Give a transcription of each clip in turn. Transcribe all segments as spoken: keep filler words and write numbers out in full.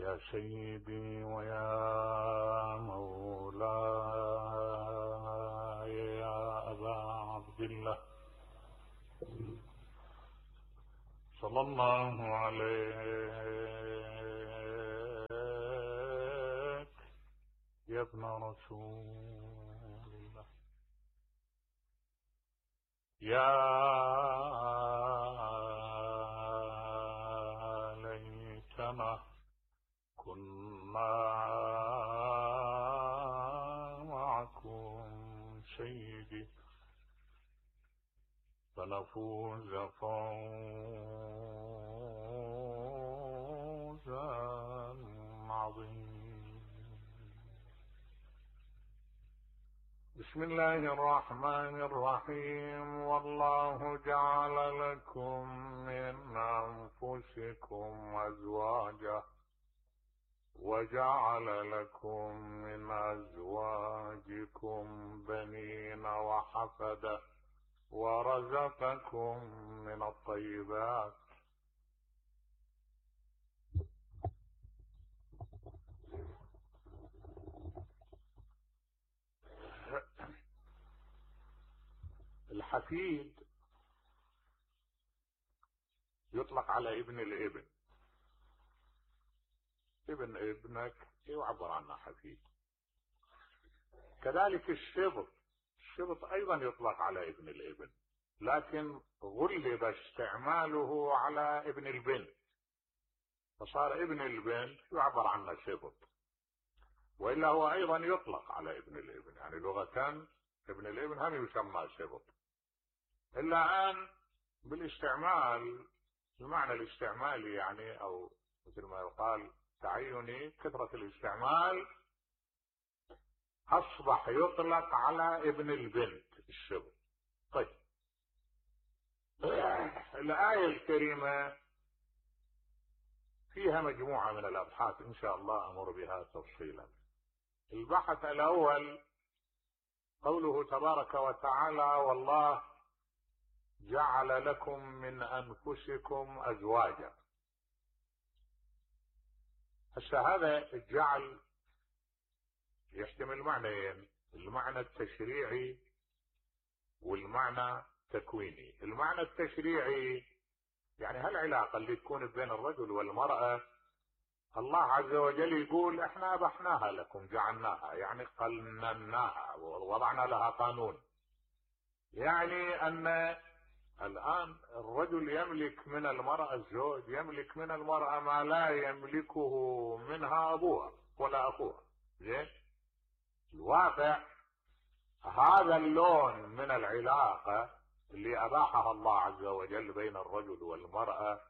يا سيدي ويا مولاي يا أبا عبد الله صلى الله عليك يا ابن رسول الله. يا ليتنا كنا معكم سيدي فنفوز فوزا عظيما. بسم الله الرحمن الرحيم. والله جعل لكم من أنفسكم أزواجا وجعل لكم من أزواجكم بنين وحفدة ورزقكم من الطيبات الحفيد يطلق على ابن الابن. ابن ابنك يعبر عنه حفيد. كذلك الشبط الشبط ايضا يطلق على ابن الابن، لكن غلب استعماله على ابن البنت فصار ابن البنت يعبر عنه شبط، والا هو ايضا يطلق على ابن الابن، يعني لغة ابن الابن هم يسمى شبط، الا ان بالاستعمال المعنى الاستعمالي يعني، او مثل ما يقال تعيني، كثرة الاستعمال اصبح يطلق على ابن البنت الشبط. طيب الآية الكريمة فيها مجموعة من الأبحاث إن شاء الله أمر بها تفصيلا. البحث الأول قوله تبارك وتعالى: والله جعل لكم من أنفسكم أزواجا. هسه هذا الجعل يحتمل معنيين: المعنى التشريعي والمعنى التكويني. المعنى التشريعي يعني هالعلاقة اللي تكون بين الرجل والمرأة، الله عز وجل يقول احنا ابحناها لكم، جعلناها يعني قنناها ووضعنا لها قانون، يعني ان الان الرجل يملك من المرأة، الزوج يملك من المرأة ما لا يملكه منها ابوها ولا اخوها. زين، الواقع هذا اللون من العلاقة اللي اباحها الله عز وجل بين الرجل والمرأة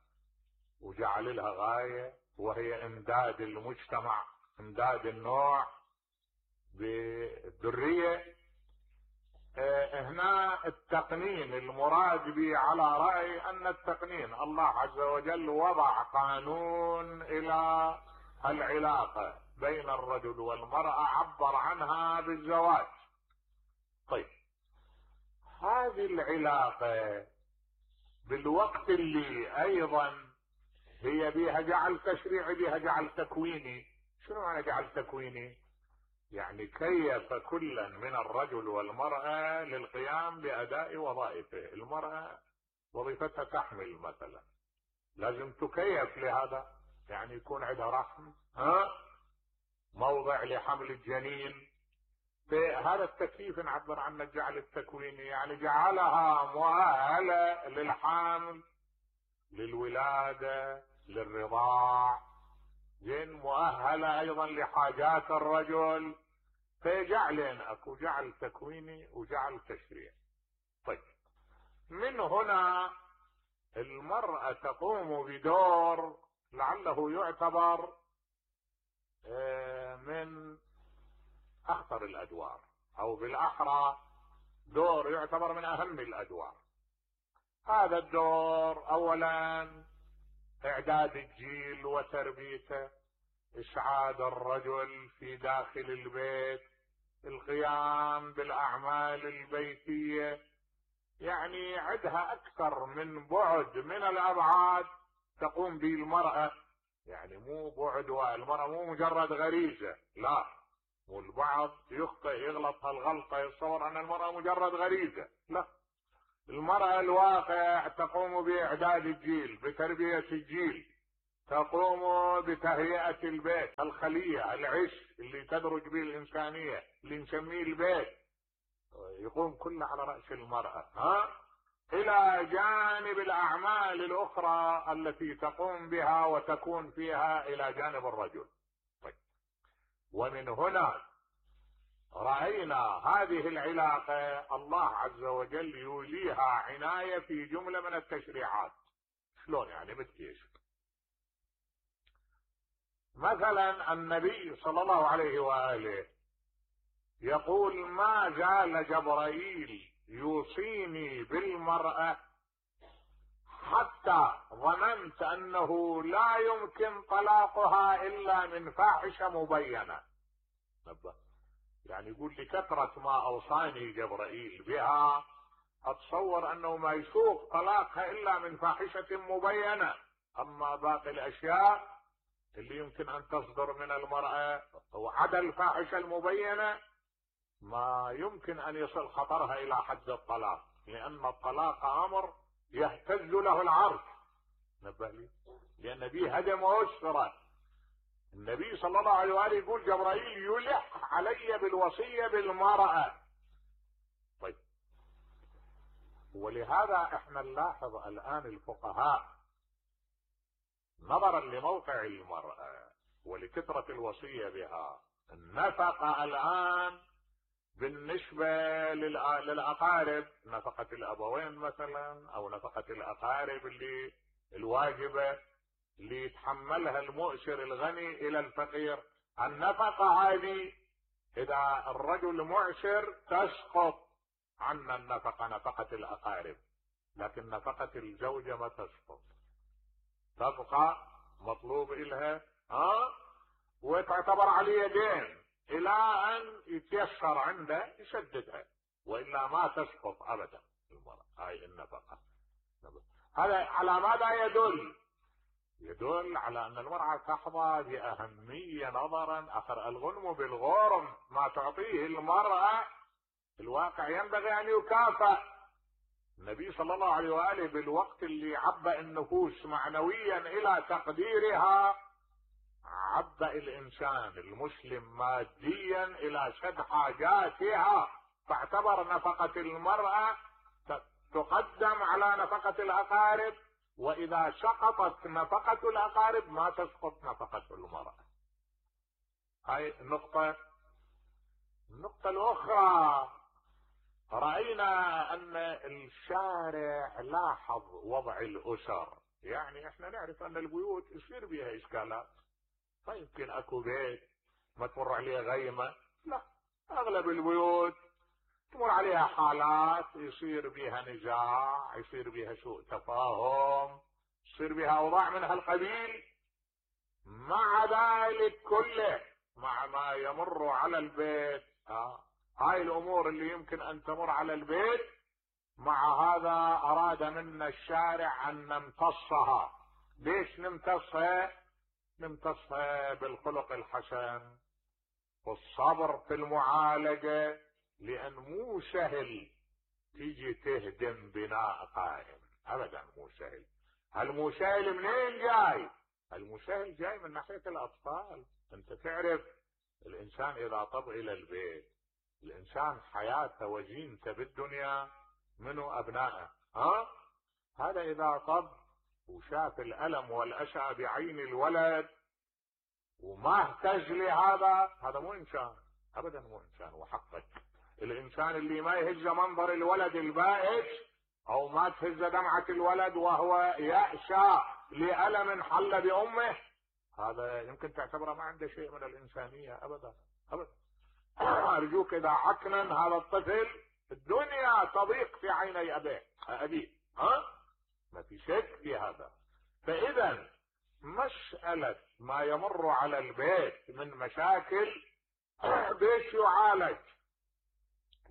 وجعل لها غاية، وهي امداد المجتمع، امداد النوع بالذرية. اه هنا التقنين المراد به على رأي ان التقنين الله عز وجل وضع قانون الى العلاقة بين الرجل والمرأة، عبر عنها بالزواج. طيب هذه العلاقة بالوقت اللي ايضا هي بها جعل تشريعي بها جعل تكويني. شنو معنى جعل تكويني؟ يعني كيف كلا من الرجل والمرأة للقيام بأداء وظائفه. المرأة وظيفتها تحمل مثلا، لازم تكيف لهذا، يعني يكون عندها رحم، ها موضع لحمل الجنين. هذا التكييف نعبر عنه الجعل التكويني، يعني جعلها مؤهلة للحمل، للولادة، للرضاع، زين، مؤهلة ايضا لحاجات الرجل. فجعلين اكو جعل تكويني وجعل تشريعي. طيب من هنا المرأة تقوم بدور لعله يعتبر من اخطر الادوار، او بالاحرى دور يعتبر من اهم الادوار. هذا الدور اولا اعداد الجيل وتربيته، اسعاد الرجل في داخل البيت، القيام بالاعمال البيتية، يعني عندها اكثر من بعد من الابعاد تقوم به المرأة يعني مو بعد، والمرأة مو مجرد غريزة، لا. والبعض يخطئ يغلط هالغلطة، يتصور ان المرأة مجرد غريزة، لا. المرأة الواقع تقوم باعداد الجيل، بتربية الجيل، تقوم بتهيئة البيت، الخلية، العش اللي تدرج به الانسانية اللي نسميه البيت، يقوم كله على رأس المرأة، ها، الى جانب الاعمال الاخرى التي تقوم بها وتكون فيها الى جانب الرجل. طيب. ومن هنا رأينا هذه العلاقة الله عز وجل يوليها عناية في جملة من التشريعات. شلون يعني؟ بالكيش. مثلا النبي صلى الله عليه وآله يقول: ما زال جبرائيل يوصيني بالمرأة حتى ظننت أنه لا يمكن طلاقها إلا من فاحشة مبينة. يعني يقول لكثرة ما أوصاني جبرائيل بها أتصور أنه ما يسوق طلاقها إلا من فاحشة مبينة. أما باقي الأشياء اللي يمكن أن تصدر من المرأة وعدا الفاحشة المبينة ما يمكن أن يصل خطرها إلى حد الطلاق، لأن الطلاق أمر يهتز له العرش. نبه لي، لأن به هدم أسرة. النبي صلى الله عليه وآله يقول: جبرائيل يلح علي بالوصية بالمرأة. طيب. ولهذا احنا نلاحظ الآن الفقهاء نظرا لموقع المرأة ولكثرة الوصية بها، النفقة الآن بالنسبة للأقارب، نفقة الأبوين مثلا أو نفقة الأقارب اللي الواجبة اللي يتحملها المؤسر الغني إلى الفقير، النفقة هذه إذا الرجل معسر تسقط عنا النفقة، نفقة الأقارب، لكن نفقة الزوجة ما تسقط، تبقى مطلوب إلها ها وتعتبر عليه دين إلى أن يتيسر عنده يسددها، وإلا ما تسقط أبدا المرأة هاي النفقة. هذا على ماذا يدل؟ يدل على أن المرأة تحظى بأهمية نظرا أخر الغنم بالغرم، ما تعطيه المرأة الواقع ينبغي أن يكافأ. النبي صلى الله عليه وآله بالوقت اللي عبأ النفوس معنويا إلى تقديرها عبأ الإنسان المسلم ماديا إلى سد حاجاتها، فاعتبر نفقة المرأة تقدم على نفقة الأقارب، وإذا سقطت نفقة الأقارب ما تسقط نفقة المرأة. هاي النقطة. النقطة الأخرى، رأينا أن الشارع لاحظ وضع الأسر. يعني احنا نعرف أن البيوت يصير بها إشكالات، فيمكن أكو بيت ما تمر عليه غيمة، لا، أغلب البيوت تمر عليها حالات يصير بها نزاع، يصير بها سوء تفاهم، يصير بها أوضاع من هالقبيل. مع ذلك كله، مع ما يمر على البيت، آه. هاي الأمور اللي يمكن أن تمر على البيت، مع هذا أراد منا الشارع أن نمتصها. ليش نمتصها؟ نمتصها بالخلق الحسن والصبر في المعالجة، لأن مو سهل تيجي تهدم بناء قائم، أبدا مو سهل. هالمو سهل منين جاي؟ هالمو سهل جاي من ناحية الأطفال. أنت تعرف الإنسان إذا طب إلى البيت، الإنسان حياته وزينته بالدنيا منو أبنائه، ها؟ هذا إذا طب وشاف الألم والأسى بعين الولد وما اهتز لهذا، هذا مو إنسان، أبدا مو إنسان. وحقك الإنسان اللي ما يهز منظر الولد البائس أو ما تهز دمعة الولد وهو يأسى لألم حل بأمه، هذا يمكن تعتبره ما عنده شيء من الإنسانية، أبدا أبدا. أرجوك إذا عكنن هذا الطفل الدنيا تضيق في عيني أبيه أبيه، ها؟ ما في شك في هذا. فإذا مسألة ما يمر على البيت من مشاكل بيش يعالج؟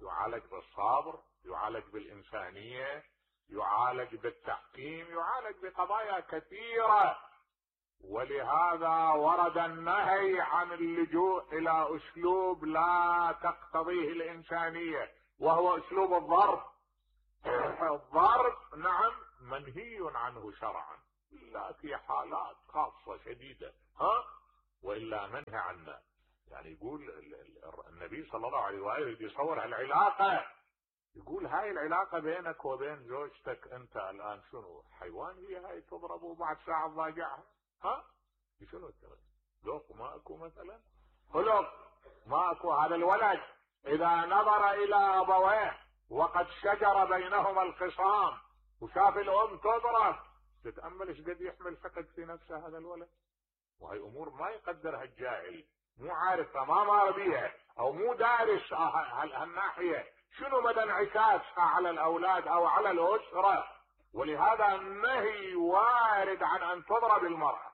يعالج بالصبر، يعالج بالإنسانية، يعالج بالتحكيم، يعالج بقضايا كثيرة. ولهذا ورد النهي عن اللجوء الى اسلوب لا تقتضيه الانسانية، وهو اسلوب الضرب. الضرب نعم منهي عنه شرعا، لا في حالات خاصة شديدة، ها وإلا منهي عنه. يعني يقول النبي صلى الله عليه وآله يصور العلاقة، يقول هاي العلاقة بينك وبين زوجتك انت الان شنو؟ حيوان هي هاي تضرب وبعد ساعة تضاجعها؟ ها شنو التغير؟ ذوق ماكو مثلا؟ خلق ماكو. هذا الولد اذا نظر الى ابويه وقد شجر بينهما الخصام وشاف الام تضرب، تتأمل ايش قد يحمل حقد في نفسه هذا الولد. وهي امور ما يقدرها الجاهل، مو عارفها، ما مار بيها، او مو دارس هالناحية شنو مدى انعكاسها على الاولاد او على الاسرة. ولهذا النهي وارد عن ان تضرب المرأة.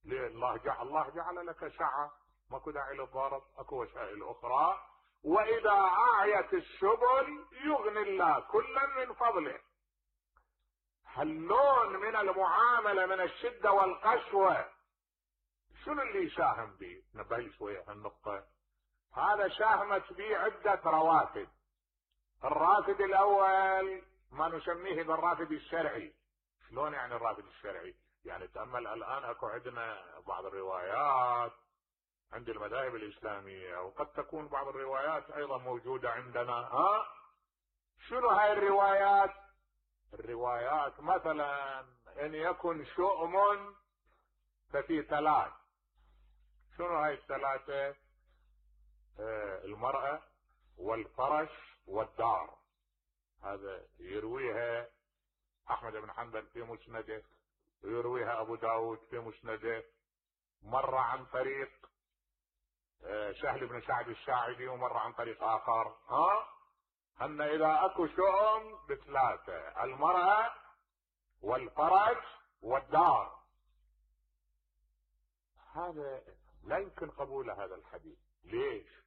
ليه؟ الله جعل الله جعل لك سعة، ماكو داعي للضرب، اكو وسائل اخرى. واذا اعيت السبل يغني الله كلا من فضله. هاللون من المعاملة من الشدة والقسوة شنو اللي يساهم به؟ نبهي شوية هالنقطة. هذا ساهمت به عدة روافد. الرافد الاول ما نسميه بالرافد الشرعي. شلون يعني الرافد الشرعي؟ يعني تأمل الان اكو عندنا بعض الروايات عند المذاهب الاسلامية، وقد تكون بعض الروايات ايضا موجودة عندنا. ها شنو هاي الروايات؟ الروايات مثلا ان يكن شؤم ففي ثلاث. شنو هاي الثلاثة؟ آه المرأة والفرش والدار. هذا يرويها احمد بن حنبل في مسنده، ويرويها ابو داود في مسنده، مرة عن طريق آه سهل بن سعد الساعدي، ومرة عن طريق اخر. ها ان اذا اكو شؤم بثلاثة: المرأة والفرج والدار. هذا لا يمكن قبول هذا الحديث. ليش؟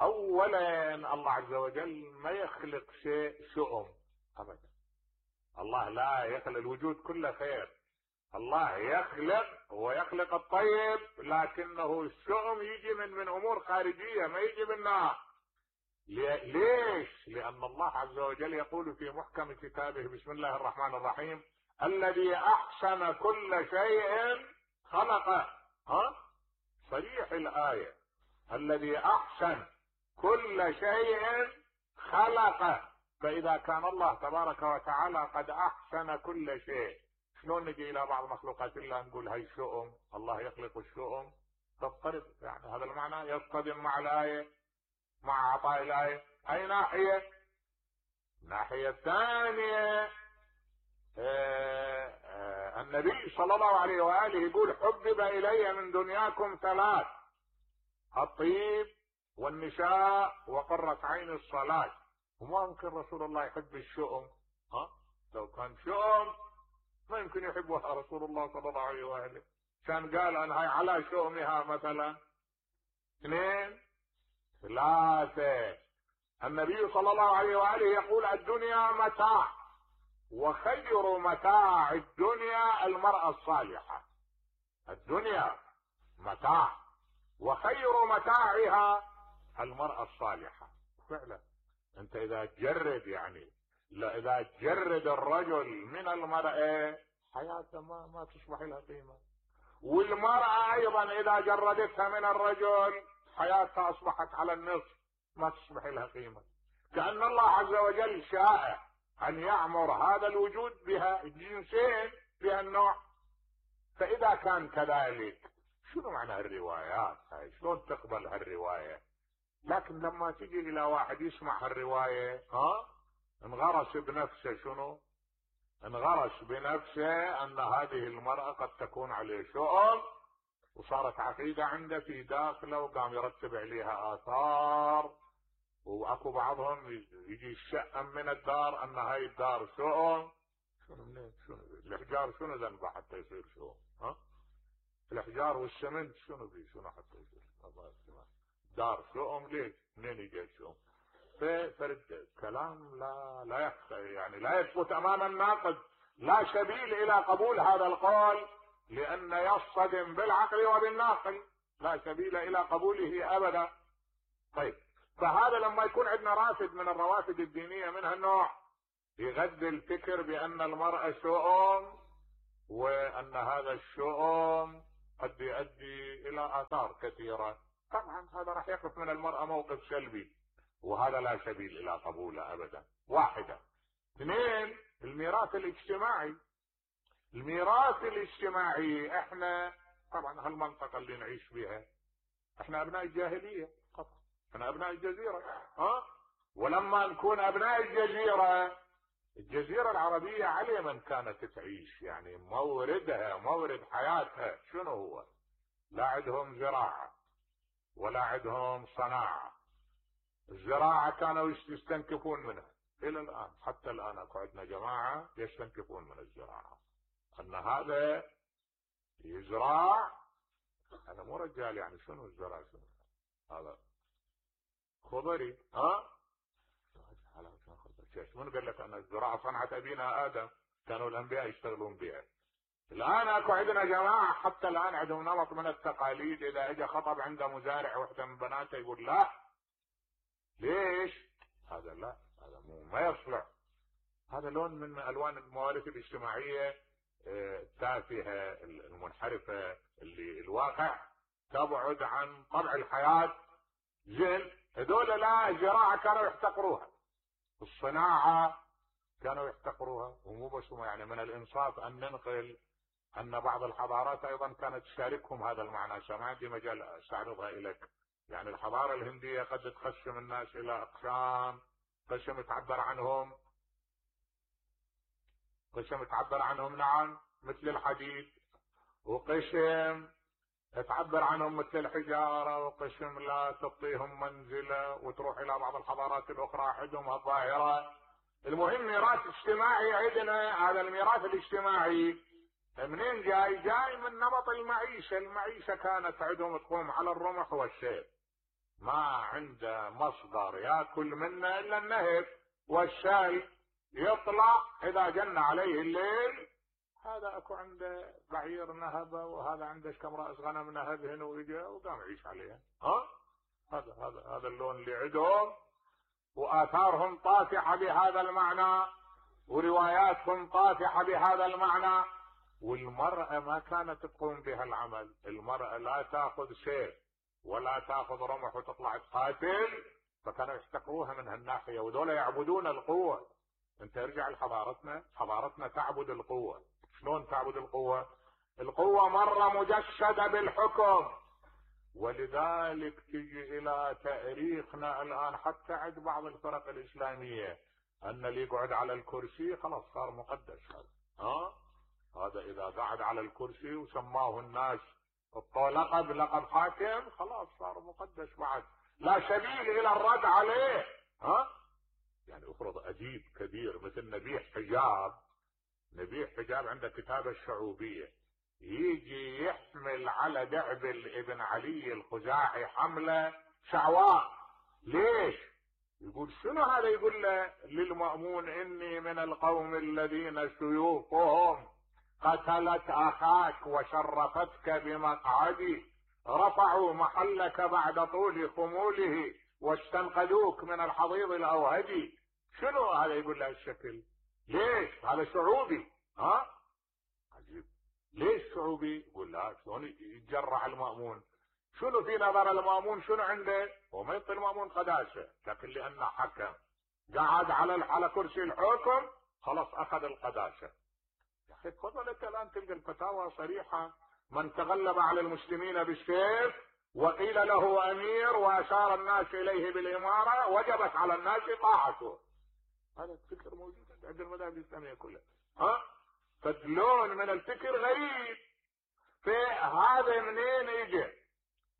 اولا الله عز وجل ما يخلق شيء شؤم ابدا. الله لا يخلق، الوجود كله خير. الله يخلق ويخلق الطيب، لكنه الشؤم يجي من من امور خارجية، ما يجي منها. ليش؟ لان الله عز وجل يقول في محكم كتابه: بسم الله الرحمن الرحيم: الذي احسن كل شيء خلقه. ها صريح الآية: الذي احسن كل شيء خلقه. فاذا كان الله تبارك وتعالى قد احسن كل شيء، شلون نجي الى بعض مخلوقات الله نقول هاي شؤم؟ الله يخلق الشؤم؟ تضطرب. يعني هذا المعنى يصطدم مع الآية، مع عطاء الآية. اي ناحية؟ الناحية الثانية آه آه النبي صلى الله عليه وآله يقول: حبب إلي من دنياكم ثلاث: الطيب والنساء وقرة عين الصلاة. وما يمكن رسول الله يحب الشؤم. ها لو كان شؤم ما يمكن يحبها رسول الله صلى الله عليه وآله. كان قال أن هاي على شؤمها مثلا. اثنين ثلاثة: النبي صلى الله عليه وآله يقول: الدنيا متاع، وخير متاع الدنيا المرأة الصالحة. الدنيا متاع وخير متاعها المرأة الصالحة. فعلا انت اذا تجرد، يعني لا اذا تجرد الرجل من المرأة حياته ما ما تصبح لها قيمة. والمرأة ايضا اذا جردتها من الرجل حياتها اصبحت على النصف، ما تصبح لها قيمة. كأن الله عز وجل شاء ان يعمر هذا الوجود بها الجنسين بها النوع. فاذا كان كذلك شنو معنى هالروايات هاي؟ شلون تقبل هالرواية؟ لكن لما تجي الى واحد يسمع هالرواية ها انغرس بنفسه. شنو انغرس بنفسه؟ ان هذه المرأة قد تكون عليه شؤم، وصارت عقيدة عنده في داخله، وقام يرتب عليها آثار. واكو بعضهم يجي الشأم من الدار ان هاي الدار شؤم. شنو منين؟ شنو الاحجار شنو ذنبه حتى يصير شؤم؟ ها الاحجار والسمنت شنو بيه؟ شنو حتى يصير دار شؤم؟ ليش؟ منين يجي الشؤم؟ فرد كلام لا لا يخفى، يعني لا يثبت امام الناقد، لا سبيل الى قبول هذا القول لأن يصطدم بالعقل وبالناقل، لا سبيل إلى قبوله أبدا. طيب، فهذا لما يكون عندنا رافد من الروافد الدينية من هالنوع يغذي الفكر بأن المرأة شؤم، وأن هذا الشؤم قد يؤدي إلى آثار كثيرة، طبعا هذا راح يقف من المرأة موقف سلبي، وهذا لا سبيل إلى قبوله أبدا. واحدة. اثنين، الميراث الاجتماعي. الميراث الاجتماعي احنا طبعا هالمنطقة اللي نعيش بها احنا ابناء الجاهلية فقط، احنا ابناء الجزيرة. ها ولما نكون ابناء الجزيرة، الجزيرة العربية على من كانت تعيش، يعني موردها مورد حياتها شنو هو؟ لا عندهم زراعة ولا عندهم صناعة. الزراعة كانوا يستنكفون منها الى الان، حتى الان اكو عندنا جماعة يستنكفون من الزراعة، ان هذا يزرع، هذا مو رجال، يعني شنو الزراعة؟ شنو هذا؟ خضري. ها من قال لك ان الزراعة صنعت ابينا ادم، كانوا الانبياء يشتغلون بها. الان اكو عندنا جماعة حتى الان عندهم نمط من التقاليد، اذا اجى خطب عنده مزارع وحده من بناته يقول لا. ليش؟ هذا لا، هذا مو ما يصلح. هذا لون من الوان الموارث الاجتماعية التافهة المنحرفة، اللي الواقع تبعد عن طبع الحياة. زين، هذول لا، الزراعة كانوا يحتقروها، الصناعة كانوا يحتقروها، ومو بس يعني من الانصاف ان ننقل ان بعض الحضارات ايضا كانت تشاركهم هذا المعنى. ما عندي مجال استعرضها اليك. يعني الحضارة الهندية قد تقسم الناس الى اقسام، قسم تعبر عنهم قسم تعبر عنهم نعم مثل الحديد، وقسم تعبر عنهم مثل الحجارة، وقسم لا تعطيهم منزلة، وتروح الى بعض الحضارات الاخرى عندهم الظاهرة. المهم ميراث اجتماعي عندنا. هذا الميراث الاجتماعي منين جاي؟ جاي من نمط المعيشة. المعيشة كانت عندهم تقوم على الرمح والسيف، ما عنده مصدر ياكل منه الا النهب والشاي، يطلع اذا جن عليه الليل، هذا اكو عنده بعير نهبه، وهذا عنده كم راس غنم نهبهن ويجا وقام يعيش عليها. ها هذا هذا هذا اللون اللي عندهم، واثارهم طافحه بهذا المعنى، ورواياتهم طافحه بهذا المعنى. والمرأة ما كانت تقوم بهالعمل. المرأة لا تاخذ سيف ولا تاخذ رمح وتطلع تقاتل، فكانوا يحتقروها من هالناحية، وذولا يعبدون القوة. انت ارجع لحضارتنا، حضارتنا تعبد القوة. شلون تعبد القوة؟ القوة مرة مجسدة بالحكم، ولذلك تجي الى تاريخنا الان حتى عند بعض الفرق الاسلامية ان اللي يقعد على الكرسي خلاص صار مقدس. هذا ها هذا اذا قعد على الكرسي وسماه الناس لقب لقب حاكم، خلاص صار مقدس بعد، لا سبيل الى الرد عليه. ها يعني افرض اديب كبير مثل نبيح حجاب، نبيح حجاب عنده كتابة الشعوبية، يجي يحمل على دعبل ابن علي الخزاعي حملة شعواء. ليش؟ يقول شنو هذا؟ يقول له للمأمون اني من القوم الذين سيوفهم قتلت اخاك وشرفتك بمقعدي، رفعوا محلك بعد طول خموله واستنقذوك من الحضيض الاوهدي. شنو هذا؟ يقول له الشكل. ليش؟ هذا شعوبي. ها عجيب. ليش شعوبي؟ يقول لا، شلون يتجرع المأمون؟ شنو في نظر المأمون؟ شنو عنده؟ هو ما يعطي المأمون قداسة، لكن لانه حكم قعد على على كرسي الحكم خلاص اخذ القداسة. يا اخي تفضل انت الان تلقى الفتاوى صريحة، من تغلب على المسلمين بالسيف وقيل له امير واشار الناس اليه بالامارة وجبت على الناس طاعته. هذا الفكر موجود عند المذاهب الاسلامية كلها. ها فاللون من الفكر غريب. في هذا منين يجي؟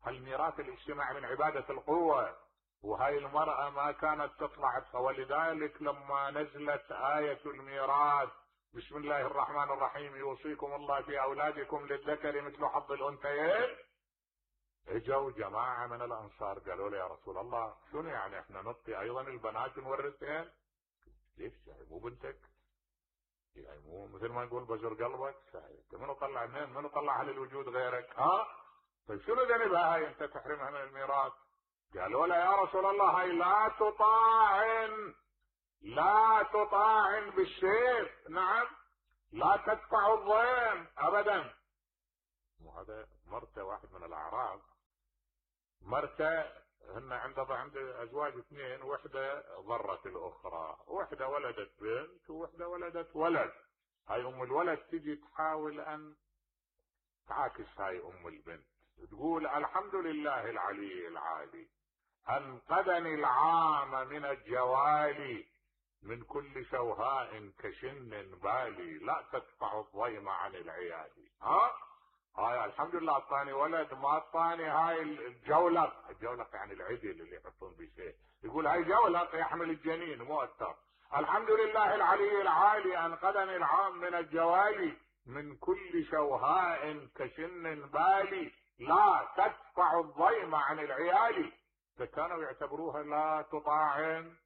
الميراث الاجتماعي من عبادة القوة، وهاي المرأة ما كانت تطلع. ولذلك لما نزلت آية الميراث بسم الله الرحمن الرحيم يوصيكم الله في أولادكم للذكر مثل حظ الأنثيين، اجوا جماعة من الأنصار قالوا له يا رسول الله شنو يعني احنا نعطي أيضا البنات نورثهن؟ ليش يعني مو بنتك؟ يعني مو مثل ما نقول بزر قلبك، انت منو طلع منين؟ منو طلعها للوجود غيرك؟ ها؟ طيب شنو ذنبها هاي انت تحرمها من الميراث؟ قالوا له يا رسول الله هاي لا تطاعن، لا تطاعن بالسيف، نعم، لا تدفع الضيم ابدا. وهذا مرته واحد من الاعراب، مرته هن عنده عند ازواج اثنين، وحده ضرت الاخرى، وحده ولدت بنت ووحده ولدت ولد. هاي ام الولد تجي تحاول ان تعاكس هاي ام البنت، تقول الحمد لله العلي العالي انقذني العام من الجوالي، من كل شوهاء كشن بالي، لا تدفع الضيم عن العيال. ها؟ هاي الحمد لله اعطاني ولد، ما اعطاني هاي الجولق، الجولق يعني العدل اللي يحطون به شيء، يقول هاي جولق يحمل الجنين مو اكثر. الحمد لله العلي العالي انقذني العام من الجوالي، من كل شوهاء كشن بالي، لا تدفع الضيم عن العيال. فكانوا يعتبروها لا تطاعن،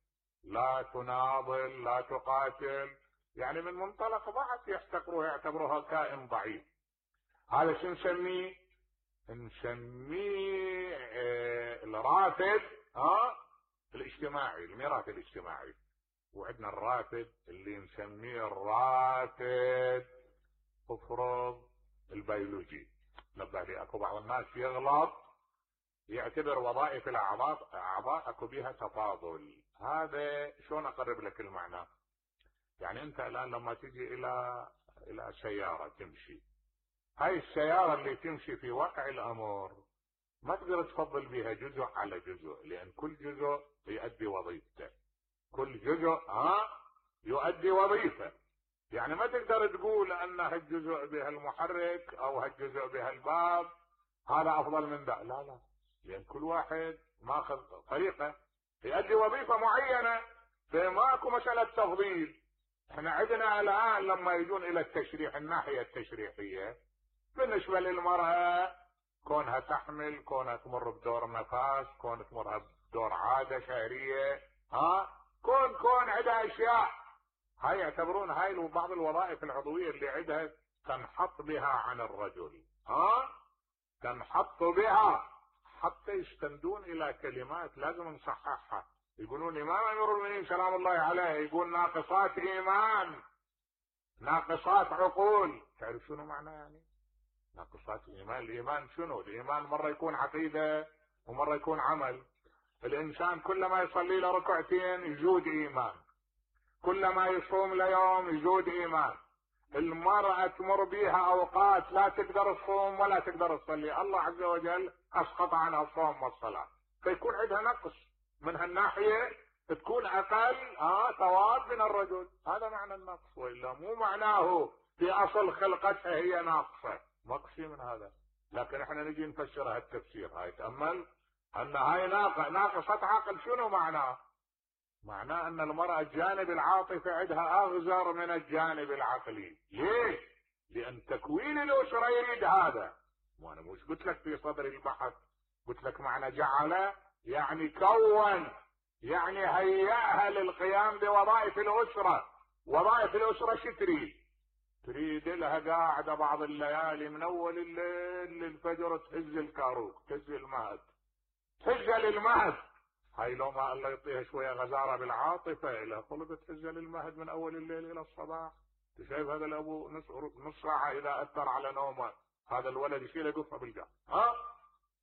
لا تناضل، لا تقاتل، يعني من منطلق ضعف يحتقروها، يعتبروها كائن ضعيف. هذا شو نسميه؟ نسميه اه الرافد، ها، الاجتماعي، الميراث الاجتماعي. وعندنا الرافد اللي نسميه الرافد افرض البيولوجي. نبه لي اكو بعض الناس يغلط يعتبر وظائف الاعضاء اعضاء اكو بها تفاضل. هذا شلون اقرب لك المعنى؟ يعني انت الان لما تجي الى الى سيارة تمشي، هاي السيارة اللي تمشي في واقع الامر ما تقدر تفضل بها جزء على جزء، لان كل جزء يؤدي وظيفته، كل جزء ها يؤدي وظيفة. يعني ما تقدر تقول ان هالجزء بها المحرك او هالجزء بها الباب هذا افضل من ذا، لا لا، لان كل واحد ماخذ طريقة يؤدي وظيفة معينة، فما اكو مسألة تفضيل. احنا عندنا الان لما يجون الى التشريح، الناحية التشريحية بالنسبة للمرأة كونها تحمل، كونها تمر بدور نفاس، كون تمر بدور عادة شهرية، ها، كون كون عندها اشياء، هاي يعتبرون هاي بعض الوظائف العضوية اللي عندها تنحط بها عن الرجل، ها، تنحط بها، حتى يستندون الى كلمات لازم نصححها. يقولون امام امير المؤمنين سلام الله عليه يقول ناقصات ايمان، ناقصات عقول. تعرف شنو معنى يعني ناقصات ايمان؟ الايمان شنو؟ الايمان مرة يكون عقيدة ومرة يكون عمل. الانسان كلما يصلي له ركعتين يزود ايمان، كلما يصوم ليوم يزود ايمان. المرأة تمر بيها اوقات لا تقدر تصوم ولا تقدر تصلي، الله عز وجل اسقط عنها الصوم والصلاة، فيكون عندها نقص من هالناحية، تكون اقل اه ثواب من الرجل. هذا معنى النقص، والا مو معناه في اصل خلقتها هي ناقصة، مقصي من هذا. لكن احنا نجي نفسرها التفسير هاي، تأمل ان هاي ناقصة عقل. شنو معناه؟ معناه ان المرأة الجانب العاطفي عندها اغزر من الجانب العقلي. ليش؟ لان تكوين الاسرة يريد هذا. وانا مش قلت لك في صدر البحث، قلت لك معنى جعل يعني كون، يعني هيئها للقيام بوظائف الاسرة. وظائف الاسرة شو تريد؟ تريد لها قاعدة بعض الليالي من اول الليل للفجر تهز الكاروك، تهز المهد، تهز للمهد. هاي لو ما الله يعطيها شوية غزارة بالعاطفة لها خلق تهز للمهد من اول الليل الى الصباح. تشايف هذا الابو نص, نص ساعة اذا اثر على نومه هذا الولد يشيل يقفه بالقاع. ها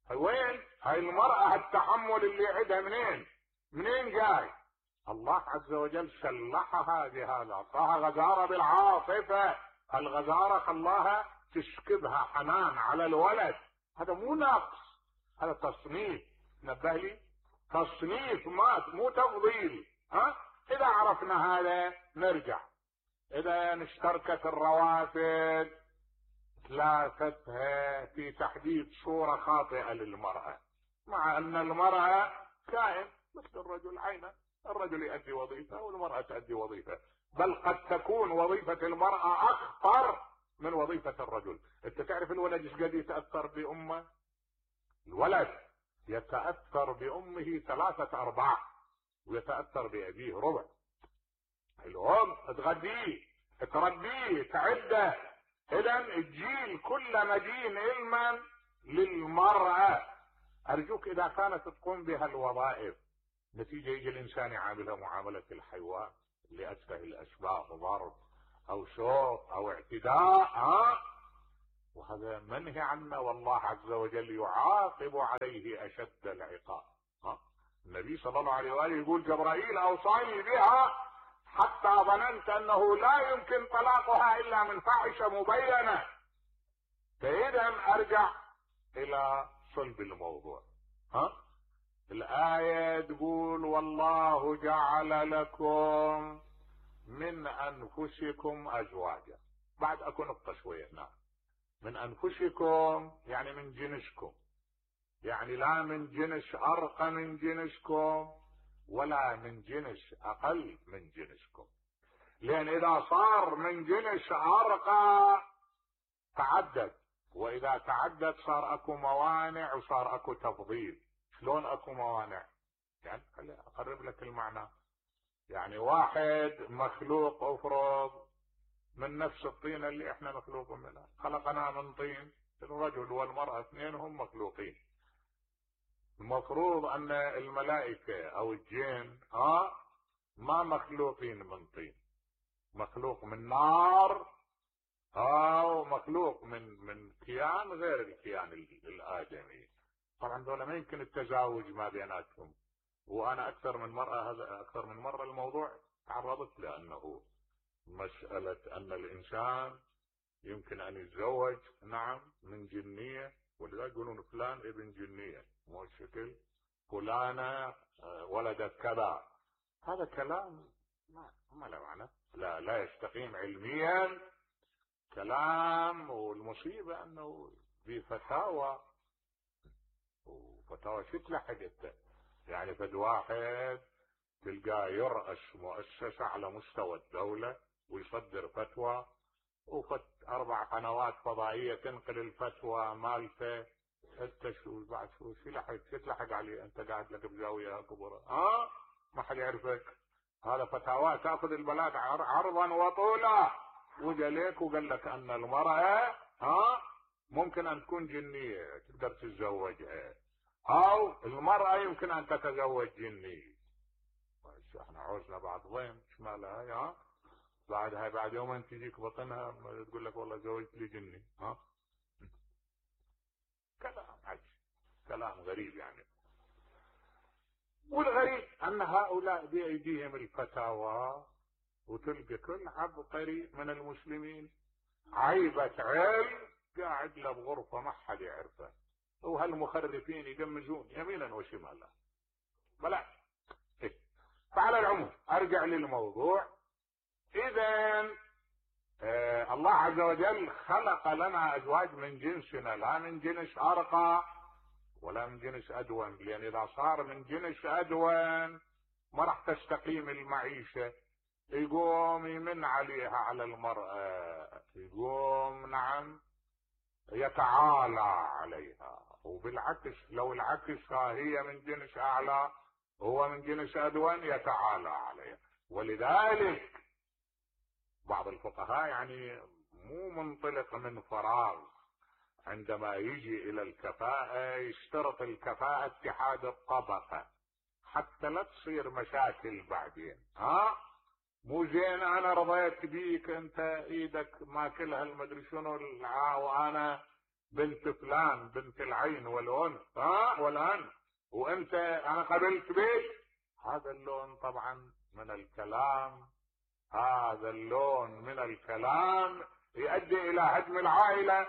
هاي وين؟ هاي المرأة التحمل اللي عندها منين؟ منين جاي؟ الله عز وجل سلحها بهذا، اعطاها غزارة بالعاطفة. الغزارة خلاها تشكبها حنان على الولد. هذا مو نقص، هذا تصنيف. نبه لي، تصنيف مات مو تفضيل. ها اذا عرفنا هذا نرجع. اذا اشتركت الروافد ثلاثتها في تحديد صورة خاطئة للمرأة، مع ان المرأة كائن مثل الرجل عينا، الرجل يؤدي وظيفة والمرأة تؤدي وظيفة، بل قد تكون وظيفة المرأة اخطر من وظيفة الرجل. انت تعرف الولد ايش قد يتأثر بامه؟ الولد يتأثر بامه ثلاثة ارباع، ويتأثر بابيه ربع. الام تغذيه، تربيه تعده. اذا الجيل كله مدين علما للمرأة. ارجوك اذا كانت تقوم بها الوظائف نتيجة يجي الانسان يعاملها معاملة الحيوان اللي اتفه الاسباب، ضرب او شوط او اعتداء، ها وهذا منهي عنه، والله عز وجل يعاقب عليه اشد العقاب. ها النبي صلى الله عليه واله يقول جبرائيل اوصاني بها حتى ظننت انه لا يمكن طلاقها الا من فاحشه مبينه. فاذا ارجع الى صلب الموضوع. ها الايه تقول والله جعل لكم من انفسكم ازواجا. بعد اكو نقطه شويه هنا، من انفسكم يعني من جنسكم، يعني لا من جنس ارقى من جنسكم ولا من جنس اقل من جنسكم. لان اذا صار من جنس ارقى تعدد، واذا تعدد صار اكو موانع وصار اكو تفضيل. شلون اكو موانع؟ يعني خليني اقرب لك المعنى. يعني واحد مخلوق افرض من نفس الطينة اللي احنا مخلوقين منها، خلقنا من طين، الرجل والمرأة اثنينهم مخلوقين. المفروض ان الملائكة او الجن ها ما مخلوقين من طين، مخلوق من نار او مخلوق من من كيان غير الكيان الادمي. طبعا دول ما يمكن التزاوج ما بيناتهم. وانا اكثر من مرة هذا اكثر من مرة الموضوع تعرضت لانه مسألة ان الانسان يمكن ان يتزوج نعم من جنية، ولذلك يقولون فلان ابن جنية، مو الشكل فلانة ولدت كذا. هذا كلام ما ما له معنى، لا لا يستقيم علميا كلام. والمصيبة انه في فتاوى، وفتاوى شو تلحقت يعني. فد واحد تلقاه يرأس مؤسسة على مستوى الدولة ويصدر فتوى، وفت اربع قنوات فضائية تنقل الفتوى مالته. انت شو بعد شو شو لحق شو تلحق عليه؟ انت قاعد لك بزاوية كبرى ها ما حد يعرفك. هذا فتاوى تاخذ البلاد عرضا وطولا. وجا لك وقال لك ان المرأة ها ممكن ان تكون جنية تقدر تتزوجها، او المرأة يمكن ان تتزوج جني. احنا عوزنا بعض ضيم شمالها ها بعدها بعد يومين تجيك بطنها تقول لك والله زوجت لي جني. ها كلام عجيب، كلام غريب يعني. والغريب ان هؤلاء بايديهم الفتاوى، وتلقى كل عبقري من المسلمين عيبة علم قاعد له بغرفة ما حد يعرفه، وهالمخرفين يجمزون يمينا وشمالا. بلا إيه. فعلى العموم ارجع للموضوع. اذا آه الله عز وجل خلق لنا ازواج من جنسنا، لا من جنس ارقى ولا من جنس ادون. لان اذا صار من جنس ادون ما راح تستقيم المعيشة. يقوم يمن عليها على المرأة، يقوم نعم يتعالى عليها. وبالعكس لو العكس هي من جنس اعلى هو من جنس ادون يتعالى عليها. ولذلك بعض الفقهاء يعني مو منطلق من فراغ، عندما يجي الى الكفاءة يشترط الكفاءة اتحاد الطبقة حتى لا تصير مشاكل بعدين. ها مو زين انا رضيت بيك انت ايدك ماكلها المدري شنو وانا بنت فلان بنت العين والانف ها والان وانت انا قبلت بيك. هذا اللون طبعا من الكلام، هذا اللون من الكلام يؤدي الى هدم العائلة.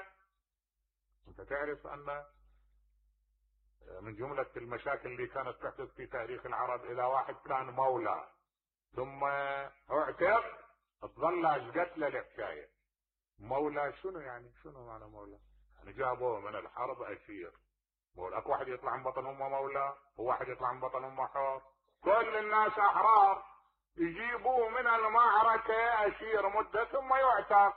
انت تعرف ان من جملة المشاكل اللي كانت تحدث في تاريخ العرب اذا واحد كان مولى ثم اعتق تظل قتله الحكاية. مولى شنو يعني؟ شنو معنى مولى؟ يعني جابوه من الحرب اسير. مولى اكو واحد يطلع من بطن امه مولى، وواحد يطلع من بطن امه حر. كل الناس احرار. يجيبوه من المعركة اسير مدة ثم يعتق.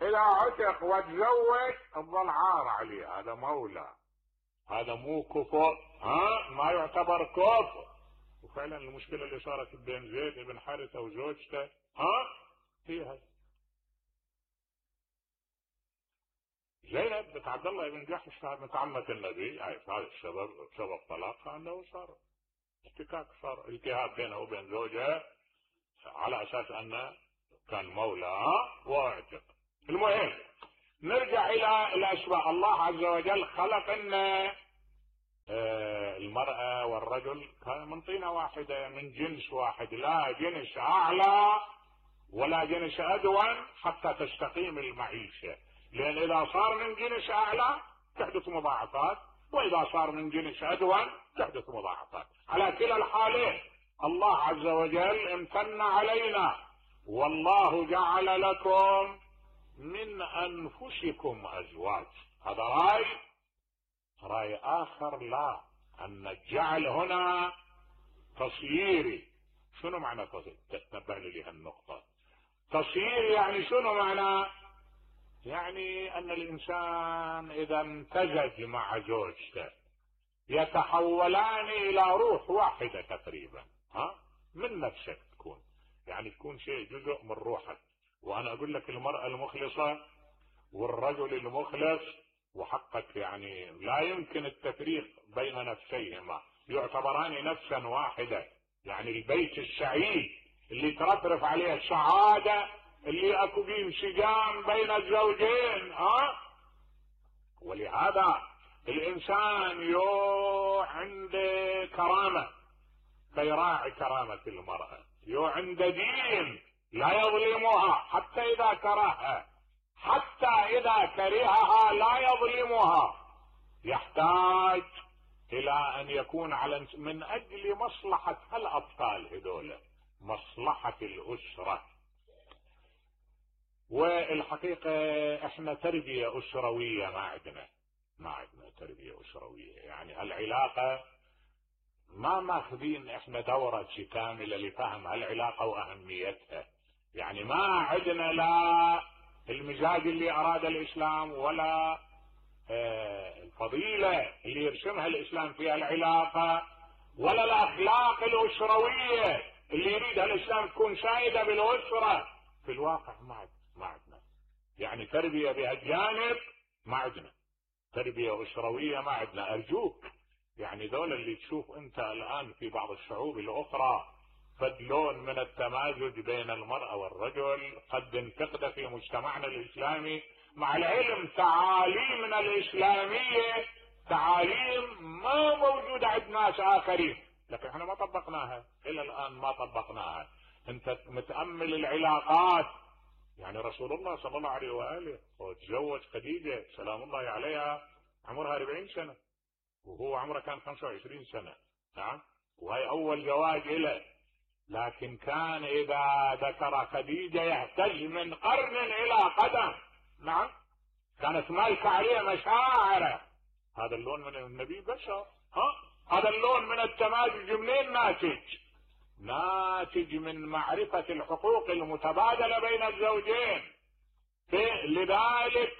اذا عتق وتزوج تظل عار عليه. هذا مولى، هذا مو كفر. ها ما يعتبر كفر. وفعلا المشكلة اللي صارت بين زيد بن حارثة وزوجته ها هي هذه. زينب بنت عبد الله بن جحش كانت عمة النبي، يعني هذا السبب سبب طلاقها انه صار احتكاك، صار التهاب بينها وبين زوجها على اساس انه كان مولى واعتق. المهم نرجع الى الاشباه. الله عز وجل خلق ان المرأة والرجل من طينة واحدة، من جنس واحد، لا جنس اعلى ولا جنس ادون حتى تستقيم المعيشة، لان اذا صار من جنس اعلى تحدث مضاعفات، واذا صار من جنس ادون تحدث مضاعفات. على كلا الحالين الله عز وجل امتن علينا، والله جعل لكم من انفسكم ازواج. هذا راي راي اخر، لا، ان الجعل هنا تصييري. شنو معنى تصيير؟ تنبه لي هالنقطة. تصيير يعني شنو معنى؟ يعني ان الانسان اذا امتزج مع زوجته يتحولان الى روح واحدة تقريبا، ها، من نفسك تكون، يعني تكون شيء جزء من روحك. وانا اقول لك المرأة المخلصة والرجل المخلص وحقك، يعني لا يمكن التفريق بين نفسيهما، يعتبران نفسا واحدة. يعني البيت السعيد اللي ترفرف عليه السعادة، اللي اكو فيه انسجام بين الزوجين، ها. ولهذا الانسان يو عنده كرامة فيراعي كرامة المرأة، يو عنده دين لا يظلمها حتى اذا كرهها، حتى اذا كرهها لا يظلمها. يحتاج الى ان يكون على من اجل مصلحة الاطفال هذول، مصلحة الاسرة. والحقيقة احنا تربية اسروية ما عندنا، ما عندنا تربية اسروية. يعني العلاقة ما ماخذين احنا دورة كاملة لفهم هالعلاقة واهميتها. يعني ما عندنا لا المزاج اللي اراد الاسلام ولا الفضيلة اللي يرسمها الاسلام في العلاقة، ولا الاخلاق الاسروية اللي يريدها الاسلام تكون سائدة بالاسرة. في الواقع ما ما عندنا يعني تربية بهالجانب، ما عندنا تربية اسروية، ما عندنا. ارجوك يعني دولة اللي تشوف انت الان في بعض الشعوب الاخرى فدلون من التمازج بين المرأة والرجل قد انتقد في مجتمعنا الاسلامي، مع العلم تعاليمنا الاسلامية تعاليم ما موجودة عند ناس اخرين، لكن احنا ما طبقناها الى الان، ما طبقناها. انت متأمل العلاقات، يعني رسول الله صلى الله عليه وآله وتزوج خديجة سلام الله عليها عمرها أربعين سنة وهو عمره كان خمسة وعشرين سنة، نعم، وهي اول زواج له. لكن كان اذا ذكر خديجة يهتز من قرن الى قدم، نعم، كانت مالكة عليه مشاعره. هذا اللون من النبي بشر، ها، هذا اللون من التمازج منين ناتج؟ ناتج من معرفة الحقوق المتبادلة بين الزوجين. لذلك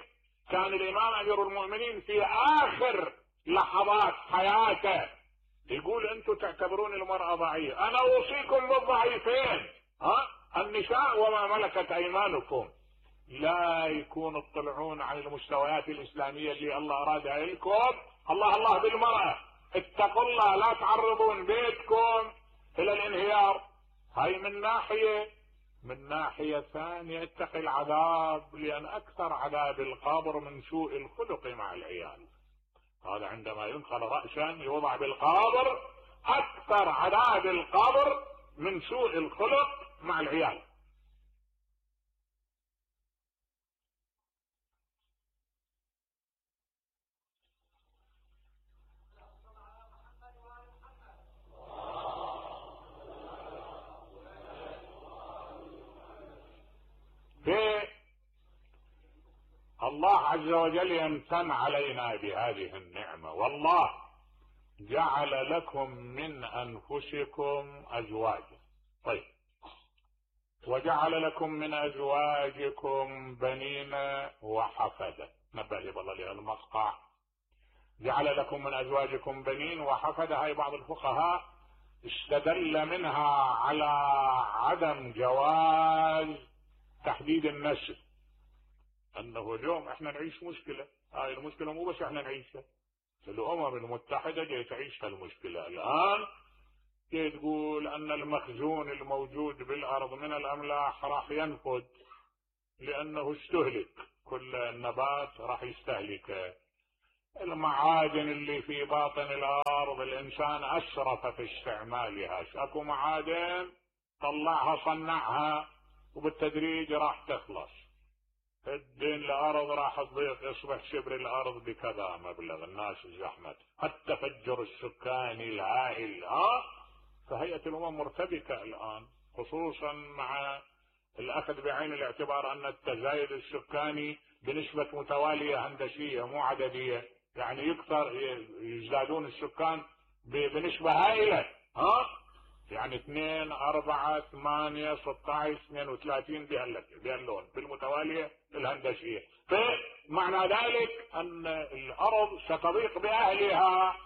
كان الامام امير المؤمنين في اخر لحظات حياته يقول انتم تعتبرون المرأة ضعيفة، انا اوصيكم بالضعيفين، ها، النساء وما ملكت ايمانكم، لا يكون تطلعون عن المستويات الاسلامية اللي الله ارادها لكم. الله الله بالمرأة، اتقوا الله، لا تعرضون بيتكم الى الانهيار. هاي من ناحية. من ناحية ثانية اتقي العذاب، لان اكثر عذاب القبر من سوء الخلق مع العيال. هذا عندما ينقل رأسا يوضع بالقبر، اكثر عذاب القبر من سوء الخلق مع العيال. الله عز وجل يمتن علينا بهذه النعمة، والله جعل لكم من أنفسكم أزواجا. طيب، وجعل لكم من أزواجكم بنين وحفدة. نبه لي بالله لها المقطع. جعل لكم من أزواجكم بنين وحفدة، هاي بعض الفقهاء استدل منها على عدم جواز تحديد النسل، انه اليوم احنا نعيش مشكلة هاي المشكلة مو بس احنا نعيشها، الامم المتحدة جاي تعيش هالمشكلة الان، جاي تقول ان المخزون الموجود بالارض من الاملاح راح ينفد لانه استهلك، كل النبات راح يستهلكه. المعادن اللي في باطن الارض الانسان اسرف في استعمالها، اكو معادن طلعها صنعها وبالتدريج راح تخلص، الدين الارض راح تضيق، يصبح شبر الارض بكذا مبلغ، الناس زحمت، التفجر السكاني الهائل. ها فهيئة الامم مرتبكة الان، خصوصا مع الاخذ بعين الاعتبار ان التزايد السكاني بنسبة متوالية هندسية مو عددية، يعني يكثر يزدادون السكان بنسبة هائلة. ها يعني اثنين أربعة ثمانية ستة عشر اثنين وثلاثين بهاللون بالمتوالية الهندسية، فمعنى ذلك ان الارض ستضيق باهلها.